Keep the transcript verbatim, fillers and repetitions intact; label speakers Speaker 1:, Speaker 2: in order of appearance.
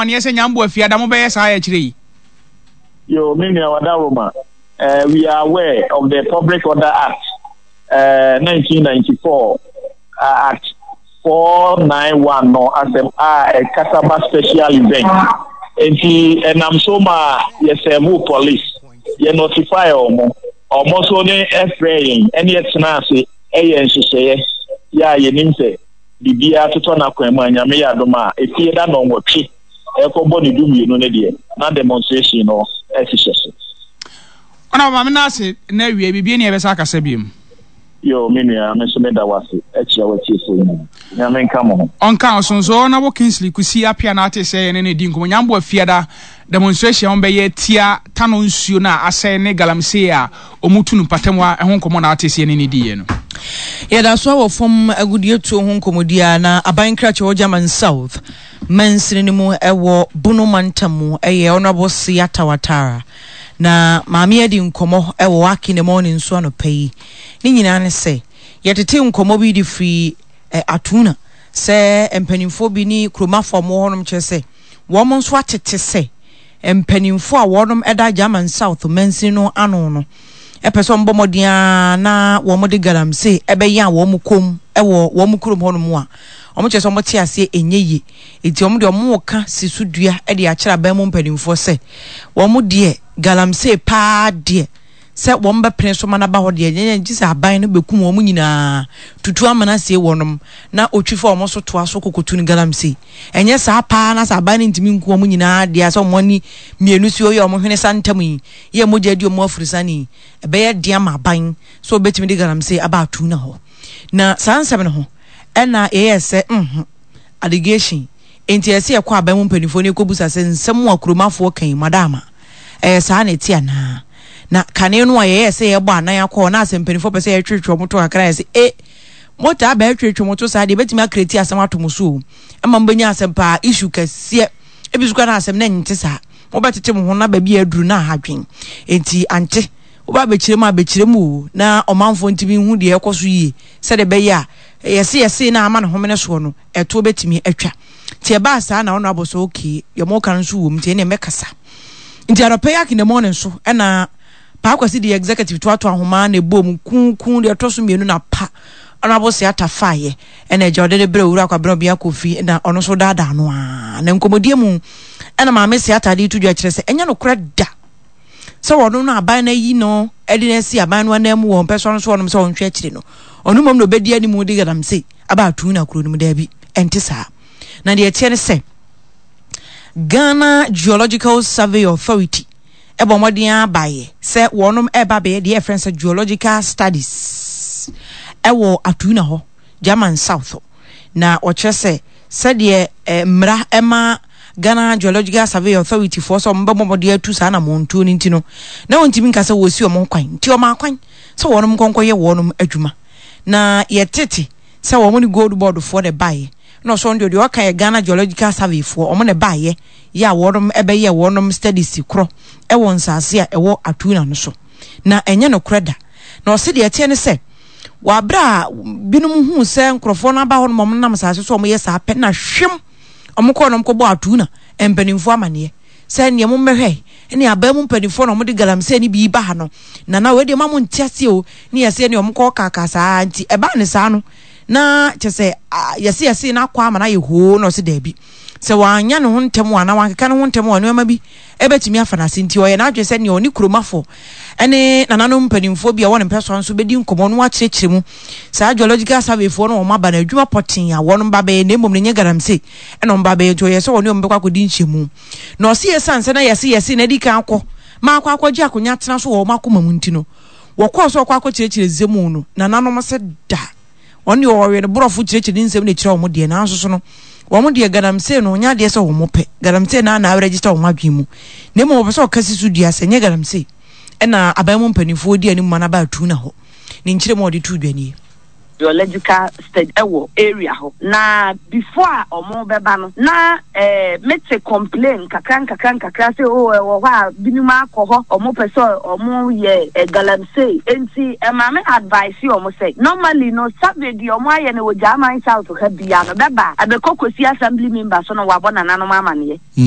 Speaker 1: Amaneɛ sɛ Nyambo Afiada mobɛyɛ saa akyerɛ yi.
Speaker 2: Yo, me nua Wadaroma, uh, we are aware of the Public Order Act uh, nineteen ninety-four, uh, Act four ninety-one no asɛm a ɛkasa ba special event. Nti ɛnam so ma yɛsɛɛbo police, yɛ notify ɔmo, ɔmo nso ne ɛfrɛ yɛn ɛne yɛtena ase ɛyɛ nhyehyɛeɛ yɛ a yɛnim sɛ biribiara totɔ n'akwan mu a, Nyame yɛ adom a, efie da nɔnwɔtwe ɛkɔbɔ ne du mmienu ne deɛ na demonstration no ɛhyehyɛ so.
Speaker 1: Ɔna maame no ase na awie biribi ne yɛbɛsa akasa biom.
Speaker 2: Yo, me nua, me nso meda wase akyia w'atiefoɔ nyinaa. Nyame nka mo ho.
Speaker 1: Ɔnka ɔsonso. Ɔnabo Kingsley Kusi Apia na ate sɛ yɛne ne di nkɔmmɔ. Nyambo Afiada demonstration a wɔbɛyɛ tia Tano nsuo no a asɛe ne galamsey a ɔmu tu no mpatam a ɛho nkɔmmɔ na ate sɛ yɛne ne diiɛ no.
Speaker 3: Yɛda so wɔ fam agudeɛ ho nkɔmmɔdi a na aban krakyɛ wɔ German South mansini no mu ɛwɔ Bono mantam mu, ɛyɛ Honorable Siata Watara, na maame adi nkɔmmɔ ɛwɔ Waki ne morning nso anɔpa yi. Ne nyinaa ne sɛ yɛtete nkɔmmɔ bi de firi eh, Atuna sɛ mpanimfoɔ bi ne kuromafoɔ a wɔwɔ hɔnom kyerɛ sɛ wɔn nso atete sɛ mpanimfoɔ a wɔnom ɛda German South mansini no ano no ɛpɛ sɛ ɔmbɔ mmɔden a na wɔn de galamsey ɛbɛyɛ a wɔn kɔm ɛwɔ wɔn kurom hɔnom a wɔn kyerɛ sɛ wɔn te aseɛ ɛnyɛ yie. Eti wɔn deɛ, wɔn ka si so dua ɛde akyerɛ aban mu mpanimfoɔ sɛ wɔn deɛ, galamsey paa deɛ, sɛ wɔn bɛpene so ma n'aba hɔ deɛ, nyɛ gye sɛ aban no bɛkum wɔn nyinaa tutu amena sie wɔnom na otwi fa wɔn so toa so kokotu no galamsey. Ɛnyɛ saa paa na sɛ aban no ntumi nku wɔn nyinaa deɛ, sɛ wɔn ani mmienu si hɔ yɛ wɔn hwene sa ntam yi yɛ mogya di wɔn afurusane yi, ɛbɛyɛ deɛ ama aban so obɛtumi de galamsey aba atu na hɔ. Na saa nsɛm no ho ɛna yɛyɛ sɛ mhm allegation nti ɛsɛ yɛkɔ aban mu mpanimfoɔ no kɔbusa sɛ nsɛm a kuromafoɔ kan madama ɛyɛ saa na ɛte anaa. Na kane no a yɛyɛ sɛ yɛbɔ anan akɔ na asɛ mpanimfoɔ pɛ sɛ yɛtwetwe ɔmo to kakra, yɛ sɛ e motaa bɛɛtwetwe mo to saa deɛ, ɛbɛtumi acreate asɛm ato mo so o, ɛma mobɛnya asɛm paa, issue kɛseɛ ebi so kora na asɛm na ɛnte saa, mobɛtete mo ho na baabi a aduru na ahadwen. Enti ante woba abɛkyerɛ mu abɛkyerɛ mu o, na ɔmanfoɔ ntumi hu deɛ ɛkɔ so yie sɛdeɛ ɛbɛyɛ a yɛse yɛse na ama ne homene soɔ no ɛtoɔ bɛtumi atwa. Nti ɛbaa saa na ɔno abɔ so, okay, deɛ mɔka no nso wɔ mu, nti ɛneɛ mɛkasa. Nti anɔpɛ yi Akin the Morning so ɛna Paakwasi de executive toatoa ahoma na ɛbɔ mu kunkun deɛ ɛtɔ so mmienu na pa ɔno abɔ se ata faayɛ ɛna agya ɔde de brɛ Owura Kwabena Obia Kofi na ɔno nso daadaa no a na nkɔmmɔdie mu ɛna maame se atade to dwa kyerɛ sɛ ɛnyɛ nokorɛ da sɛ wɔno no aban no ayi no ɛde no asi aban no anan mu wɔ mpɛ so no so ɔnom sɛ ɔnhwɛ akyire no, ɔno mmom na ɔbɛdi anim de galamsey aba atu na kuro no mu. Daabi, ɛnte saa. Na deɛ ɛteɛ ne sɛ Ghana Geological Survey Authority ɛbɔ mmɔden abaeɛ sɛ wɔnom ɛba bɛyɛ deɛ ɛfrɛ sɛ geological studies ɛwɔ Atuna hɔ, German South. Na ɔkyerɛ sɛ sɛdeɛ eh, mmara ɛma Ghana Geological Survey Authority foɔ sɛ ɔmo bɛbɔ mmɔden atu saa na mɔntuo no nti no, na wɔntumi nka sɛ wɔsi ɔmo kwan, nti ɔmo akwan sɛ wɔnom nkɔnkɔyɛ wɔnom adwuma. Na yɛtete sɛ wɔn ne Gold Board foɔ de baeɛ na ɔsɔ deɛ deɛ ɔka yɛ Ghana Geological Survey foɔ, ɔmo na baeɛ yɛ a wɔnom ɛbɛyɛ wɔnom studies korɔ ɛwɔ nsaase a ɛwɔ Atuna no so. Na ɛnyɛ nokorɛ da. Na ɔsi deɛ ɛteɛ ne sɛ wabere a binom hu sɛ nkurɔfoɔ no aba hɔ nom, ɔmo nam saase so ɔmo yɛ saa pɛ na hwem ɔmo kɔɔ nom kɔbɔ Atuna mpanimfoɔ amaneɛ sɛ nea mo mmɛhwɛ ne aban mu mpanimfoɔ na ɔmo de galamsey ne bi ba ha no nana wei deɛ ma mo nte aseɛ o, ne yɛsɛ ne ɔmo kɔ kaka saa. Nti ɛbaa ne saa no na kyɛ sɛ yɛse yɛse na akɔ ama no ayɛ hoo. Na ɔse daabi, sɛ wanya ne ho ntɛm a na wankeka ne ho ntɛm a, nneɛma bi ɛbɛtumi afa n'ase. Nti ɔyɛ n'adwene sɛ nea ɔne kuromafo ɛne nananom mpanimfoɔ bi a wɔn ne mpɛ so nso bɛdi nkɔmmɔ no akyerɛkyerɛ mu saa geological survey foɔ no wɔn aba no adwuma pɔtee a wɔn ba bɛyɛ, na mmom no nyɛ galamsey ɛna wɔn ba bɛyɛ. Nti ɔyɛ sɛ wɔne wɔn bɛkɔ akɔdi nkyɛmu. Na ɔsi yɛ san sɛ na yɛse yɛse na adi kan akɔ maa akɔ akɔgye akonnwa tena so wɔ wɔn akoma mu. Nti no wɔkɔɔ so ɔkɔ akɔkyerɛkyerɛ nsɛm no, nananom sɛ da ɔne ɔwɔ no borɔfo kyerɛkyerɛ ne nsɛm na ɛkyerɛ wɔn deɛ, nanso so no wɔn deɛ, galamsey no ɔnyɛ adeɛ sɛ wɔn pɛ galamsey na na register wɔn adwene mu, na mmom wɔpɛ sɛ ɔka si so dua sɛ nyɛ galamsey ɛna aban mu mpanimfoɔ di anim ma no aba atu na hɔ. Ne nkyerɛ mu a ɔde tu dwa nie.
Speaker 4: Geological study ɛwɔ area hɔ na before a ɔmo bɛba no na ɛɛ mete complain nkakra nkakra nkakra sɛ o ɛwɔ hɔ a binom akɔ hɔ, ɔmo pɛ sɛ ɔmo yɛ ɛ galamsey. Nti ɛmaame advice ɔmo sɛ normally no, survey deɛ ɔmo ayɛ no wɔ German South ha bia no bɛba abɛkɔ kɔsi assembly member so no wabɔ nananom amaneɛ.